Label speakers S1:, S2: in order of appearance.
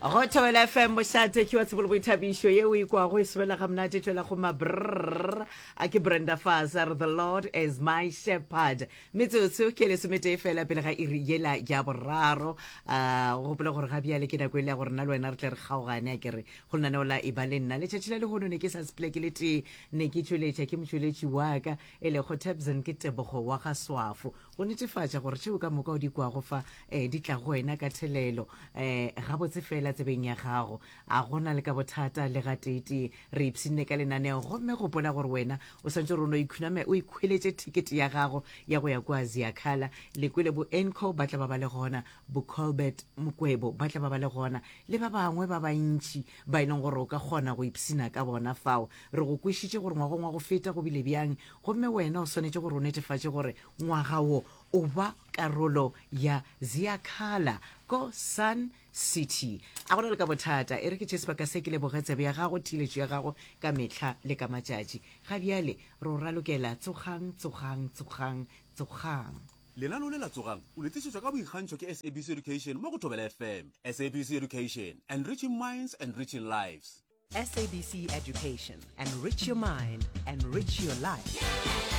S1: Go Thobela FM mošate ke wa tsebo le boithabišo ye o ikwago e sobela ga monate tšwela go mabrrr a ke Brenda Fassie a re the Lord is my shepherd. Metsotso ke lesometee fela pele ga iri yela ya boraro. A o gopole gore ga bjale ke nako e le ya gore nna le wena re tle re kgaogane a ke re go lenaneo la e ba le nna. Letšatši la lehono ne ke sa sepele ke le tee ne ke tšweletša ke motšweletši wa ka e lego Tebson ke Tebogo wa ga Swafo. Go netefatša gore tšeo ka moka o di kwago fa um di tla go wena ka thelelo um gabotse fela tsebeng ya gago. A go na le ka bothata le gateetee. Re ipshinne ka lenaneo gomme gopola gore wena o swantše gore o no ikhuname o ikhweletše thekete ya gago ya go ya kua Ziakhala. Le kwele bo Enco ba tla ba ba le gona, bo Colbert Mokwebo ba tla ba ba le gona le ba bangwe ba bantši ba e leng gore o ka kgona go ipshina ka bona fao. Re go kwešitše gore ngwagong wa go feta go bile bjang gomme wena o swanetše gore o netefatše gore Ngwaga wo o ba karolo ya Ziakhala ko Sun City. A go na le ka bothata, e re ke tše sebaka se ke leboge tsebe ya gago, theeletšo ya gago ka mehla le ka matšatši. Ga bjale re o ralokela Tsogang, Tsogang, Tsogang, Tsogang.
S2: Lenaneo le la Tsogang o le tlišetšwa ka boikgantšho ke SABC Education mo go Thobela FM. SABC Education, enriching minds, enriching lives.
S1: SABC Education, enrich your mind, enrich your life.